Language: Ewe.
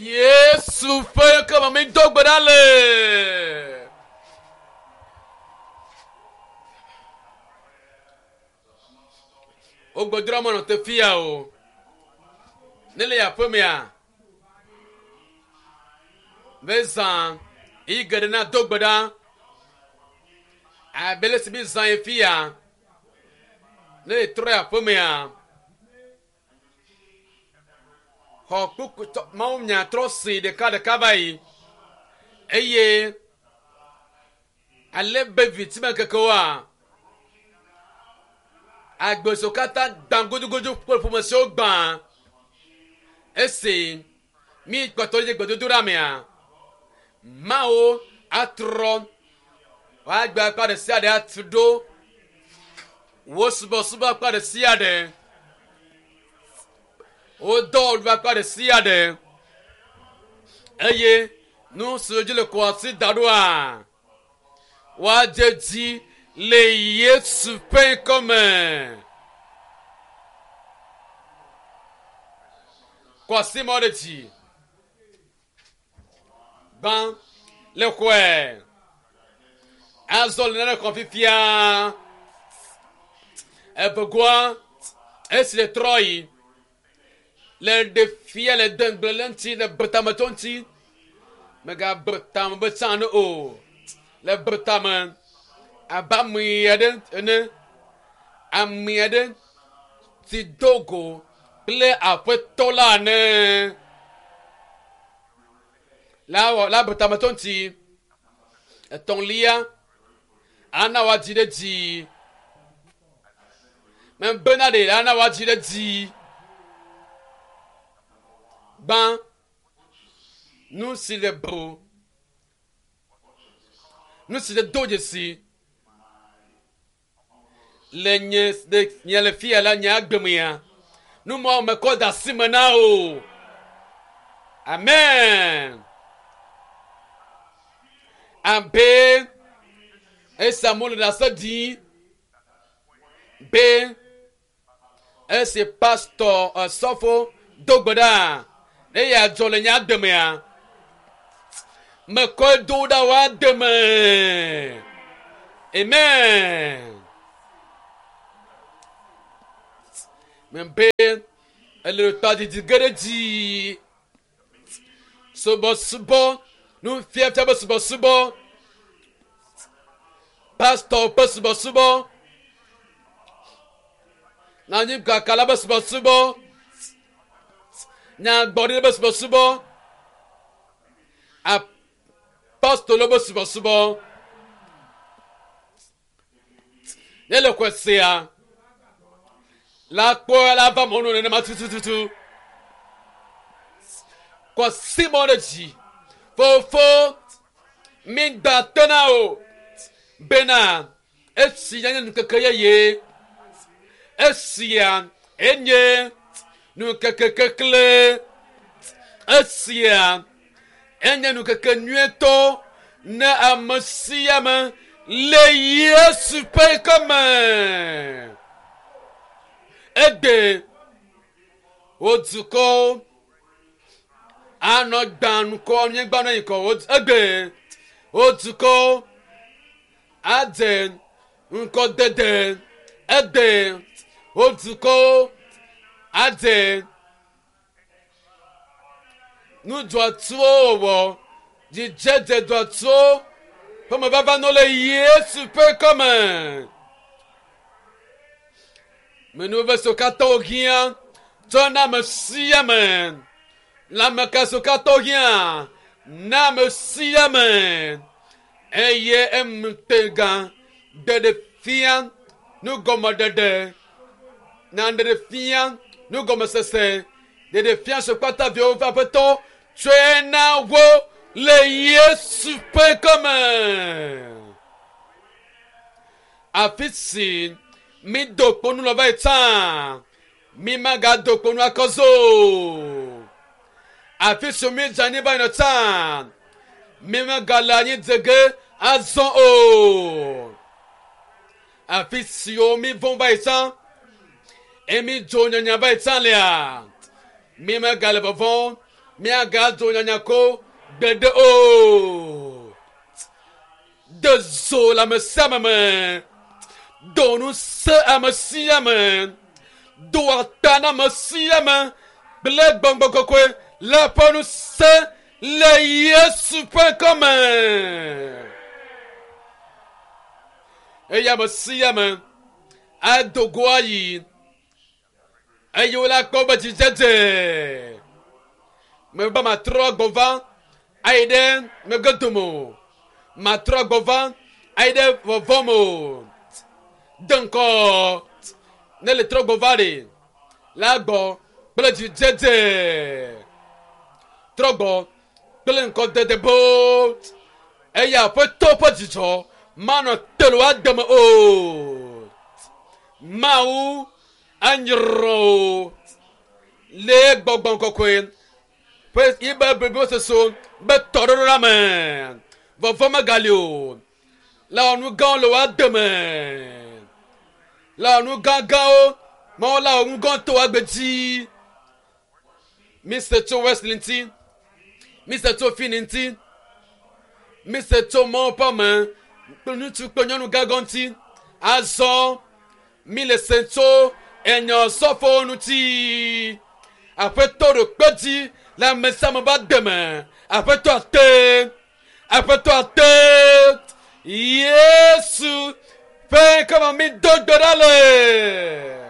Yesu ƒe ŋkɔ me mi do gbe ɖa le. Wogbedroa menɔ te fia o. Ne le aƒe mea, ve zã yi geɖe na do gbe ɖa. Abe le si mi zã yi fia. Ne le trɔ aƒe mea, xɔ kpukpu mawu nya trɔ si ɖeka ɖeka va yi eye ale be vivitime kekewoa agbe siwo katã gbã gudugudu kple ƒome siwo gbã esi mi kpɔtɔ dze gbedodoɖa mea mawo atrɔ woagbe akpa ɖe sia ɖe atu ɖo wo subɔsubɔ akpa ɖe sia ɖe wo dɔwɔɖu akpa ɖe sia ɖe eye nu siwo dzi le kɔ asi da ɖoa woadze dzi le Yesu ƒe ŋkɔme. Kɔ asi mɔ ɖe dzi. Gbã le xɔe. Azɔ le nane xɔ fifia. Evegoa esi le trɔ yi le ɖe fia le de ŋugble le ŋuti le betametɔ ŋuti. Megabe tame be tsã ne o. Le be tame abe ame aɖe ene. Ame aɖe si do go kple aƒetɔ la ene. La wɔ la be tametɔ ŋuti. Etɔ̃lia ana woadzi ɖe dzi. Mebena ɖe ana woadzi ɖe dzi. Gbã nu si le bro nu si le do dzesi le nye le nye le fia la nye agbe mea nu mawo mekɔ de asi me na o amen abe esi amewo le ɖase ɖim be Esi pastɔ esɔfo do gbe ɖa ne yeadzɔ le nye agbe mea, mekɔe do ɖa woade me. Amen. Mebe ele tadidi ge ɖe dzi. Subɔsubɔ, nufiafia be subɔsubɔ, pastɔ ƒe subɔsubɔ, nanyigakala be subɔsubɔ, nyagbɔɖi be subɔsubɔ, apostolo be subɔsubɔ. Ne le xɔe sea, la kpɔ la va mɔnu nenema tutututu. Kɔ simɔ ɖe dzi. Fofo, mi gba tena o bena esi nye nukeke yeye. Esia enye nukeke kekle. Esia enye nukeke nyuietɔ ne ame sia ame le Yesu ƒe ŋkɔ me. Egbe wo dukɔwo anɔ gbã nukɔ nyigba nɔ yikɔ wo egbe wo dukɔwo adze ŋkɔdede egbe wo dukɔwo adze Nudzɔatsuwo wɔwɔ, dzidzedze dzɔatsuwo ƒe mevava nɔ le Yesu ƒe ŋkɔme. Menuveve siwo katã wohiã tsɔ na ame sia ame. Lãmeka siwo katã wohiã na ame sia ame. Eye emtega ɖeɖe fia nugɔmeɖeɖe na ɖeɖe fia nugɔmesese ɖeɖe fia si kpata viwo ƒe aƒetɔ tsɔe na wo le Yesu ƒe ŋkɔme. Afi si mido kponu le va yi tsã, mi magado kponu akɔ zo. Afi si mi dze anyi va yina tsã, mi megale anyi dze ge azɔ o. Afi siwo mi vɔ̃ va yi tsã, eye mi dzo nyanya va yi tsã lea, mi megale vɔvɔ̃. Míagadzo nyanyako gbeɖe o. De zo le ame sia ame me. Do ŋusẽ ame sia ame. Do ata na ame sia ame kple gbɔgbɔ kɔkɔe le eƒe ŋusẽ le Yesu ƒe ŋkɔme. Eye ame sia ame ado go ayi eye wole akpɔ be dzidzedze. Mebe matrɔ gbɔ va ayi ɖe megbe dome o. Matrɔ gbɔ va ayi ɖe vɔvɔ me o. De ŋkɔ ne le trɔ gbɔ va ɖe la gbɔ kple dzidzedze. Trɔ gbɔ kple ŋkɔdede boo eye aƒetɔ ƒe dzidzɔ manɔ te le woa deme o. Mawu anyrɔ o le gbɔgbɔ kɔkɔe ƒe yibe blibososo be tɔɖoɖo la me. Vɔvɔ megali o. Le wɔ nu gãwo le woa deme. Le wɔ nu gãgãwo mawu la wɔ nu gãwo to woa gbe dzi. Mise tso Wesley ŋuti. Mise tso Finn ŋuti. Mise tso Mawu ƒe ame kple ŋutsu kple nyɔnu gãgã ŋuti. Azɔ mi le se tso enyɔ sɔfowo ŋuti. Aƒetɔ ɖo kpe dzi le ame sia ame ƒe deme. Aƒetɔ ate. Aƒetɔ ate. Yesu ƒe ŋkɔme mi do gbe ɖa le.